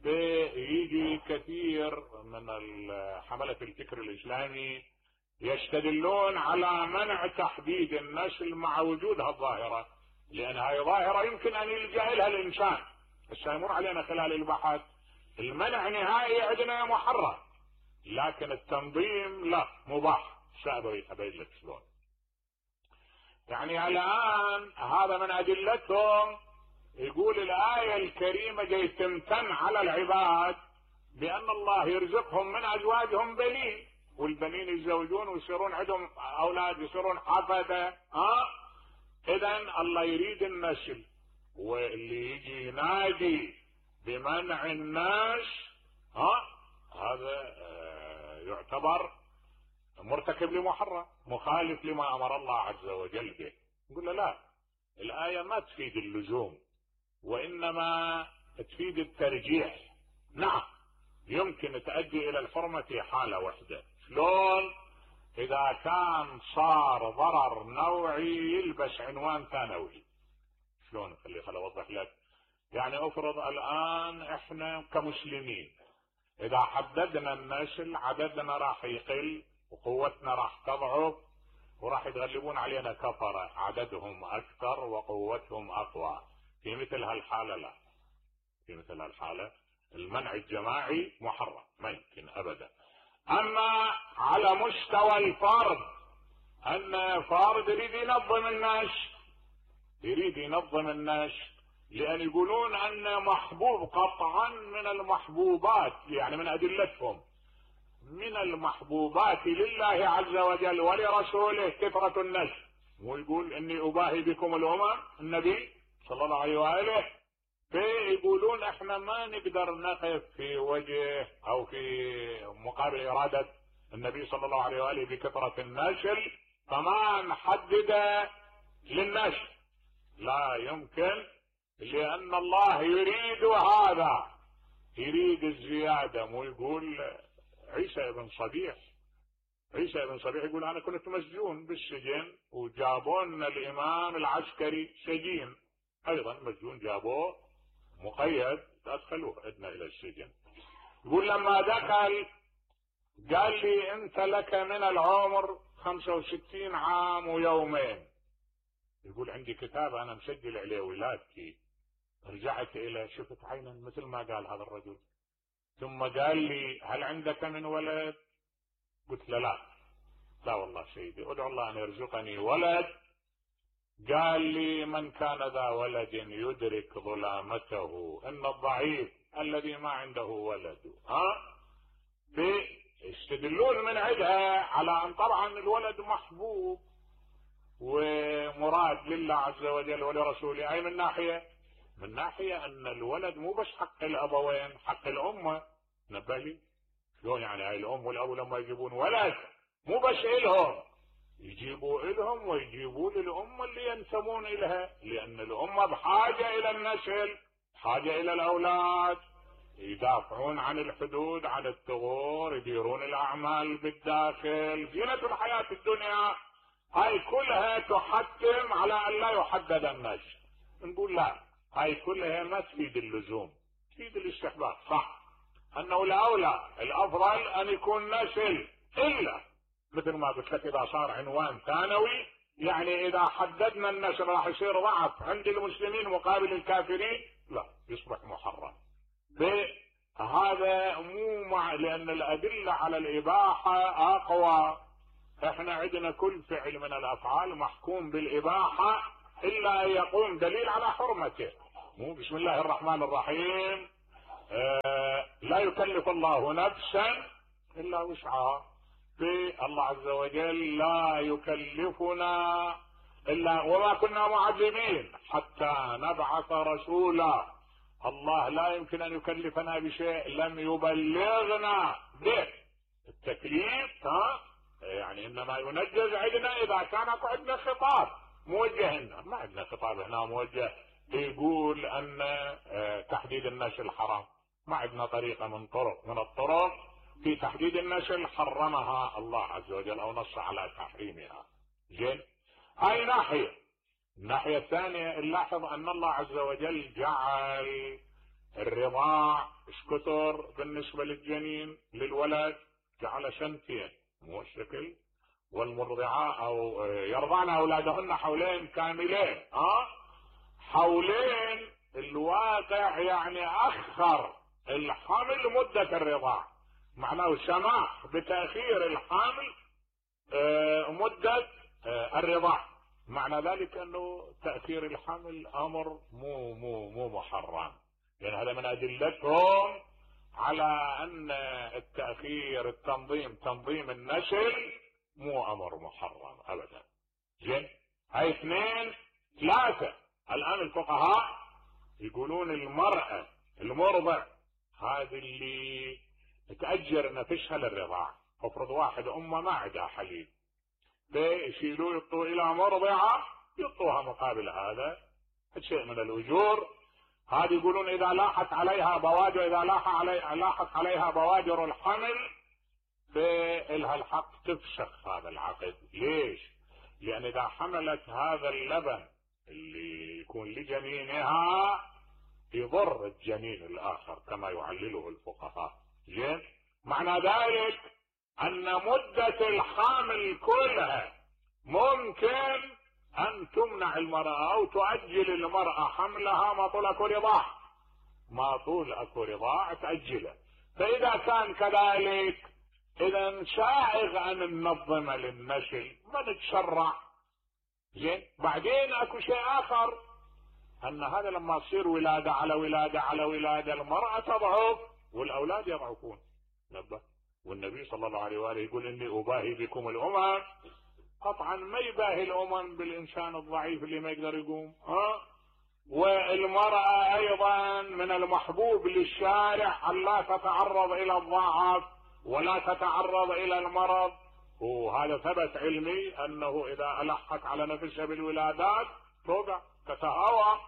بيجي كثير من حملة الفكر الاسلامي يستدلون على منع تحديد النسل مع وجود هالظاهرة، لان هاي ظاهرة يمكن ان يلجأ لها الانسان، بس يمر علينا خلال البحث المنع نهائي عندنا محرم، لكن التنظيم لا مباح. سأبوي ابين لك شلون. يعني الان هذا من ادلتهم، يقول الايه الكريمه جاي تمتن على العباد بان الله يرزقهم من ازواجهم بنين، والبنين يتزوجون ويصيرون عندهم اولاد يصيرون حفده. ها اذا الله يريد النسل، واللي يجي ينادي بمنع الناس ها هذا يعتبر مرتكب لمحرم، مخالف لما امر الله عز وجل به. نقول له لا، الايه ما تفيد اللزوم وانما تفيد الترجيح. نعم يمكن تؤدي الى الحرمه في حاله واحده، شلون؟ اذا كان صار ضرر نوعي يلبس عنوان ثانوي. شلون؟ خلي خل اوضح لك. يعني افرض الان احنا كمسلمين اذا حددنا النسل عددنا راح يقل وقوتنا راح تضعف وراح يتغلبون علينا كفرة عددهم اكثر وقوتهم اقوى. في مثل هالحالة لا، في مثل هالحالة المنع الجماعي محرم، ما يمكن ابدا. اما على مستوى الفرد، ان فرد يريد ينظم الناس، يريد ينظم الناس لان يقولون ان محبوب قطعا من المحبوبات، يعني من ادلتهم من المحبوبات لله عز وجل ولرسوله كثرة النسل. ويقول اني اباهي بكم الامم، النبي صلى الله عليه واله، فيقولون احنا ما نقدر نقف في وجه او في مقابل ارادة النبي صلى الله عليه واله بكثرة النسل، فما نحدد للنسل، لا يمكن، لان الله يريد هذا، يريد الزيادة. ويقول عيسى ابن صبيح، عيسى ابن صبيح يقول انا كنت مسجون بالسجن وجابونا الامام العسكري سجين، ايضا مسجون جابوه مقيد ادخلوه عندنا الى السجن. يقول لما دخل قال لي انت لك من العمر خمسة وستين عام ويومين. يقول عندي كتاب انا مسجل عليه ولادتي، رجعت الى شفت عينا مثل ما قال هذا الرجل، ثم قال لي هل عندك من ولد؟ قلت له لا، لا والله سيدي ادعو الله ان يرزقني ولد. قال لي من كان ذا ولد يدرك ظلامته ان الضعيف الذي ما عنده ولد. ها يستدلون من عندها على ان طبعا الولد محبوب ومراد لله عز وجل ولرسوله. اي من ناحية؟ من ناحية ان الولد مو بس حق الابوين، حق الامة. نبهي شلون يعني؟ هاي الام والاب لما يجيبون ولد مو بس الهم، يجيبوا الهم ويجيبوا للامة اللي ينتمون الها، لان الامة بحاجة الى النسل، بحاجة الى الاولاد، يدافعون عن الحدود عن الثغور، يديرون الاعمال بالداخل، زينة الحياة الدنيا. هاي كلها تحتم على ان لا يحدد النسل. نقول لا، هاي كلها ما تفيد اللزوم، تفيد الاستحباب. صح انه الاولى الافضل ان يكون نسل، الا مثل ما قلت لك اذا صار عنوان ثانوي يعني اذا حددنا النشر راح يصير ضعف عند المسلمين مقابل الكافرين؟ لا، يصبح محرم. هذا مو مع، لان الادله على الاباحه اقوى. احنا عندنا كل فعل من الافعال محكوم بالاباحه الا ان يقوم دليل على حرمته. مو بسم الله الرحمن الرحيم آه لا يكلف الله نفسا الا وسعها. في الله عز وجل لا يكلفنا الا، وما كنا معذبين حتى نبعث رسولا. الله لا يمكن ان يكلفنا بشيء لم يبلغنا به. التكليف ها يعني انما ينجز عندنا اذا كان عندنا خطاب موجه لنا. ما عندنا خطاب هنا موجه يقول ان تحديد النشل حرام. ما عندنا طريقه من طرق من الطرق في تحديد النشل حرمها الله عز وجل او نص على تحريمها. زين، هاي ناحيه. الناحيه الثانيه نلاحظ ان الله عز وجل جعل الرضاع اشكتر بالنسبه للجنين للولد، جعل سنتين مو الشكل، والمرضعات او يرضعن اولادهن حولين كاملين. ها حولين الواقع يعني اخر الحمل مده الرضاع، معناه سماح بتاخير الحمل مده الرضاع. معنى ذلك انه تاخير الحمل امر مو مو مو محرم، يعني هذا من ادلتهم على ان التاخير التنظيم تنظيم النسل مو امر محرم ابدا. زين، هاي اثنين. ثلاثه، الان الفقهاء يقولون المراه المرضع هذه اللي تاجر نفسها للرضاع، افرض واحد امه ما عندها حليب فيشيلوه يعطوه الى مرضعه يعطوها مقابل هذا شيء من الاجور. هذه يقولون اذا لاحت عليها بوادر اذا لاح علي لاحت عليها بوادر الحمل فإلها الحق تفسخ هذا العقد. ليش؟ لان اذا حملت هذا اللبن اللي يكون لجنينها يضر الجنين الاخر كما يعلله الفقهاء. زين، معنى ذلك ان مدة الحامل كلها ممكن ان تمنع المرأة او تؤجل المرأة حملها ما طول اكو رضاع، ما طول اكو رضاع تأجله. فاذا كان كذلك اذا سائغ ان ننظم للنسل ما نتشرع. زين، بعدين اكو شيء اخر، ان هذا لما تصير ولادة على ولادة على ولادة المرأة تضعف والاولاد يضعفون. نبه، والنبي صلى الله عليه وآله يقول اني اباهي بكم الامم. قطعا ما يباهي الامم بالانسان الضعيف اللي ما يقدر يقوم. ها، والمرأة ايضا من المحبوب للشارع ان لا تتعرض الى الضعف ولا تتعرض الى المرض، وهذا ثبت علمي انه اذا الحت على نفسها بالولادات توقع تتهاوى.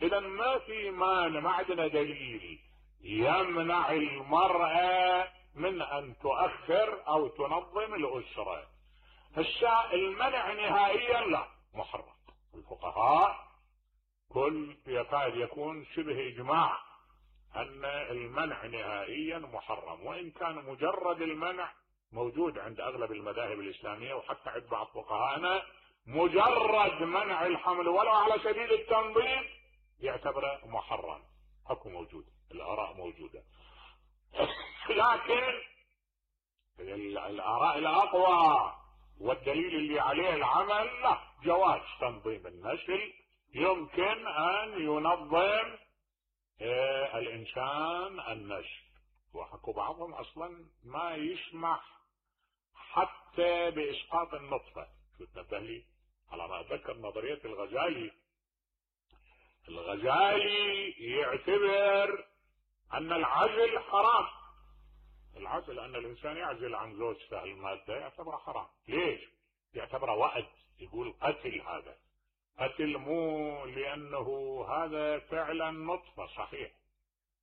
اذا ما في مانع، ما عندنا دليل يمنع المرأة من ان تؤخر او تنظم الاسرة. الشاء المنع نهائيا لا، محرم. الفقهاء كل يكاد يكون شبه اجماع ان المنع نهائيا محرم، وان كان مجرد المنع موجود عند اغلب المذاهب الاسلامية وحتى عند بعض فقهاءنا مجرد منع الحمل ولو على سبيل التنظيم يعتبره محرم. اكو موجود، الاراء موجودة. لكن الاراء الاقوى والدليل اللي عليه العمل لا، جواز تنظيم النسل، يمكن ان ينظم آه الانسان النسل. وحكوا بعضهم اصلا ما يسمح حتى باسقاط النطفة. شو تنبه لي على ما اتذكر نظرية الغزالي. الغزالي يعتبر ان العزل حرام. العزل ان الانسان يعزل عن زوجته المادة يعتبره حرام. ليش؟ يعتبره وأد، يقول قتل. هذا قتل مو لانه هذا فعلا نطفة صحيح،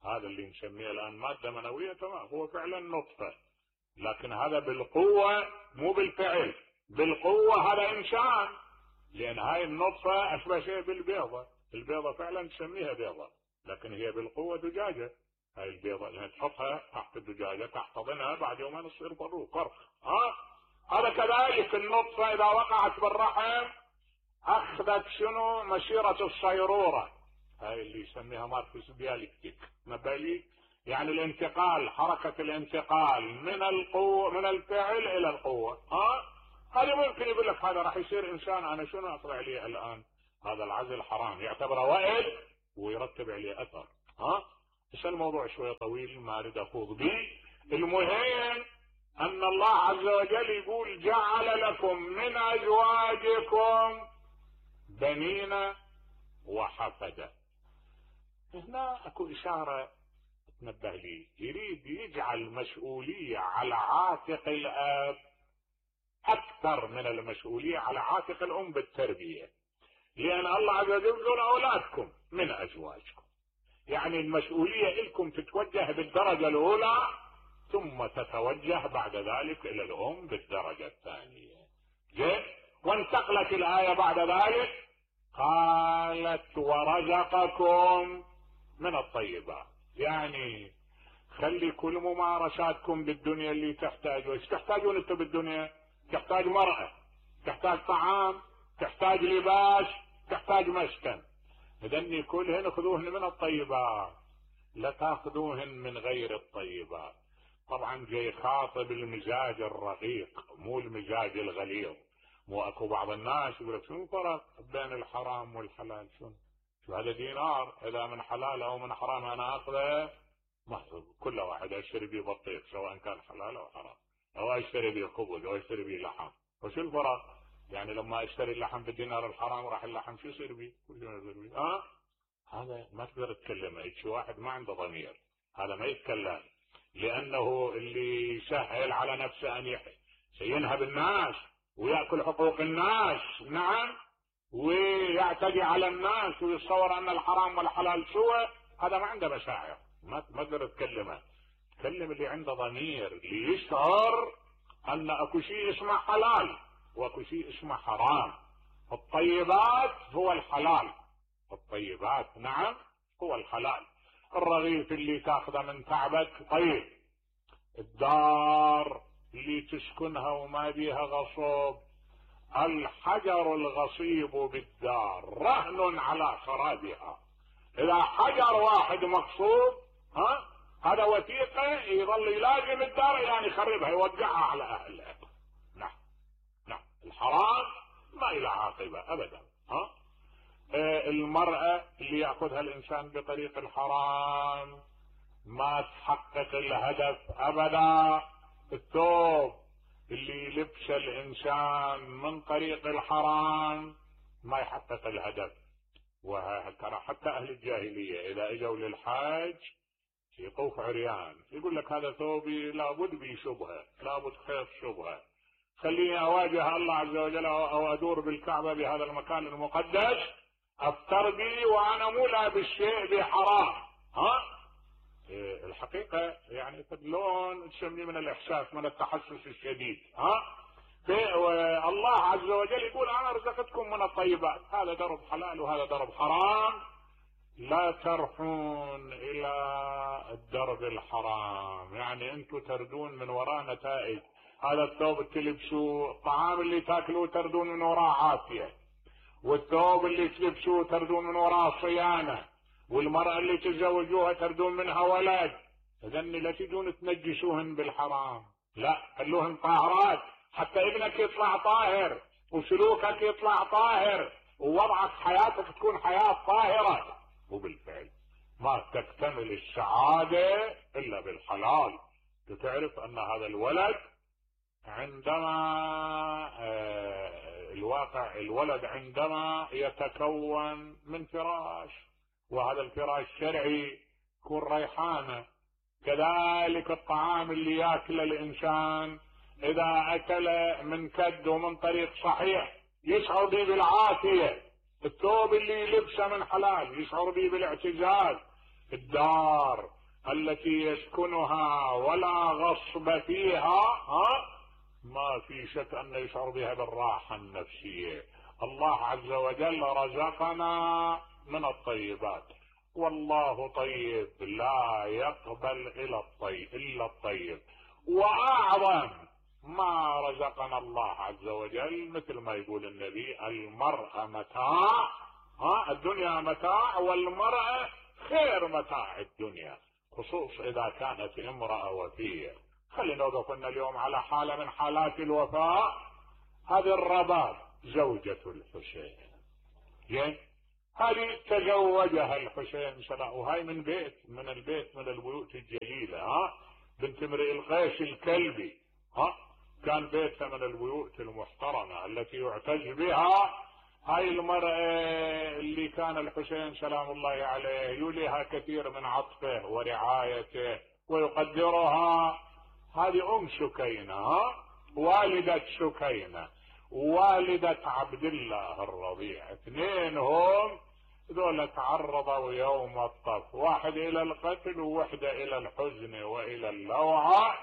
هذا اللي نسميه الان مادة منوية تمام هو فعلا نطفة، لكن هذا بالقوة مو بالفعل. بالقوة هذا انسان، لان هاي النطفة اشبه شيء بالبيضة. البيضة فعلا نسميها بيضة لكن هي بالقوة دجاجة. هاي البيضة اللي تحطها تحت الدجاجة تحتضنها بعد يومين تصير فرو فرخ. ها هذا كذلك النطفة اذا وقعت بالرحم اخذت شنو مسيرة الصيرورة، هاي اللي يسميها ماركوس ديالكتيك نبالي، يعني الانتقال، حركة الانتقال من القوة من الفعل الى القوة. ها هذا ممكن يقول لك هذا راح يصير انسان، انا شنو اطلع عليه الان؟ هذا العزل حرام، يعتبره وائل ويرتب عليه اثر. ها بس الموضوع شوية طويل ما اريد اخوض به. المهم ان الله عز وجل يقول جعل لكم من ازواجكم بنين وحفدة. هنا اكو اشارة تنبه لي، يريد يجعل مسؤولية على عاتق الاب اكثر من المسؤولية على عاتق الام بالتربية، لان الله عز وجل يقول اولادكم من ازواجكم، يعني المسؤولية لكم تتوجه بالدرجة الاولى ثم تتوجه بعد ذلك الى الام بالدرجة الثانية. جيد. وانتقلت الاية بعد ذلك قالت ورزقكم من الطيبات، يعني خلي كل ممارساتكم بالدنيا اللي تحتاجوا. ايش تحتاجون انتم بالدنيا؟ تحتاج مرأة، تحتاج طعام، تحتاج لباس، تحتاج مسكن. اذن كلهن خذوهن من الطيبات، لا تاخذوهن من غير الطيبات. طبعا جاي خاطب المزاج الرقيق مو المزاج الغليظ. مو اكو بعض الناس يقول لك شنو الفرق بين الحرام والحلال؟ شنو شو هذا دينار اذا من حلال او من حرام انا اخذه محفوظ، كل واحد اشتري به بطيخ سواء كان حلال او حرام، او اشتري به خبز او اشتري به لحم. وشو الفرق؟ يعني لما اشتري اللحم بالدينار الحرام راح اللحم شو يصير به؟ كل يوم يصير به. اه هذا ما تقدر تتكلم، شي واحد ما عنده ضمير هذا ما يتكلم، لانه اللي يسهل على نفسه ان ينهب الناس ويأكل حقوق الناس، نعم، ويعتدي على الناس ويتصور ان الحرام والحلال سوى، هذا ما عنده مشاعر، ما تقدر تكلمه. تكلم اللي عنده ضمير، اللي يشعر ان اكو شيء اسمه حلال واكو شيء اسمه حرام. الطيبات هو الحلال، الطيبات نعم هو الحلال. الرغيف اللي تاخذه من تعبك طيب، الدار اللي تسكنها وما بيها غصب، الحجر الغصيب بالدار رهن على خرابها. اذا حجر واحد مقصوب ها هذا وثيقه يظل يلازم الدار يعني يخربها يوزعها على اهلها. نعم نعم الحرام ما الى عاقبه ابدا. ها آه المرأة اللي ياخذها الانسان بطريق الحرام ما تحقق الهدف ابدا. الثوب اللي لبس الانسان من طريق الحرام ما يحقق الهدف. وترى حتى اهل الجاهلية اذا اجوا للحاج يطوف عريان يقول لك هذا ثوبي لابد بي شبهة، لابد خيط شبهة، خليني اواجه الله عز وجل او ادور بالكعبة بهذا المكان المقدس افتر بي وانا مو لابس شيء بحرام. ها إيه الحقيقة يعني لون تسميه من الاحساس من التحسس الشديد. ها الله عز وجل يقول انا رزقتكم من الطيبات، هذا درب حلال وهذا درب حرام، لا ترحون الى الدرب الحرام، يعني انتم تردون من وراء نتائج. هذا الثوب اللي تلبسوه، الطعام اللي تاكلوه تردون من وراء عافية، والثوب اللي تلبسوه تردون من وراء صيانة، والمرأة اللي تتزوجوها تردون منها ولد. اذن لا تجون تنجسوهن بالحرام، لا خلوهن طاهرات حتى ابنك يطلع طاهر وسلوكك يطلع طاهر ووضعك حياتك تكون حياة طاهرة. وبالفعل ما تكتمل السعادة الا بالحلال. تعرف ان هذا الولد عندما آه الواقع الولد عندما يتكون من فراش، وهذا الفراش شرعي يكون ريحانة، كذلك الطعام اللي ياكله الانسان اذا اكل من كد ومن طريق صحيح يشعر به بالعافية، الثوب اللي لبسه من حلال يشعر به بالاعتزاز، الدار التي يسكنها ولا غصب فيها ها ما في شك ان يشعر بها بالراحة النفسية. الله عز وجل رزقنا من الطيبات، والله طيب لا يقبل الا الطيب الا الطيب. واعظم ما رزقنا الله عز وجل مثل ما يقول النبي المرأة متاع، ها الدنيا متاع والمرأة خير متاع الدنيا، خصوص اذا كانت امرأة وفية. خلينا نوقف اليوم على حالة من حالات الوفاء، هذه الرباب زوجة الحسين، زين، هذه تزوجها الحسين سلام، وهاي من بيت من البيت من البيوت الجليلة، ها بنت امرئ القيس الكلبي، ها كان بيتها من البيوت المحترمة التي يعتز بها. هاي المرأة اللي كان الحسين سلام الله عليه يوليها كثير من عطفه ورعايته ويقدرها، هذه ام سكينة، والدة سكينة والدة عبد الله الرضيع، اثنين هم ذولا تعرضوا يوم الطف، واحد الى القتل ووحدة الى الحزن والى اللوعة.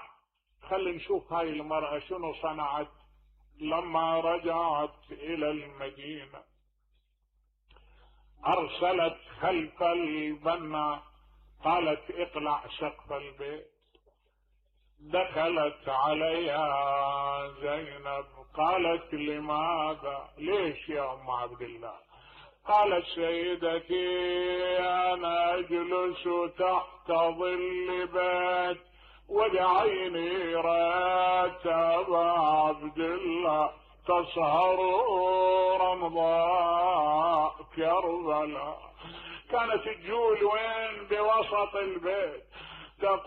خلي نشوف هاي المرأة شنو صنعت لما رجعت الى المدينة. ارسلت خلف البنا، قالت اقلع سقف البيت. دخلت عليها زينب قالت لماذا؟ ليش يا ام عبد الله؟ قالت سيدتي انا اجلس تحت ظل بيت ودعيني رات ابا عبد الله تسهر رمضاء كربلاء. كانت تجول وين؟ بوسط البيت،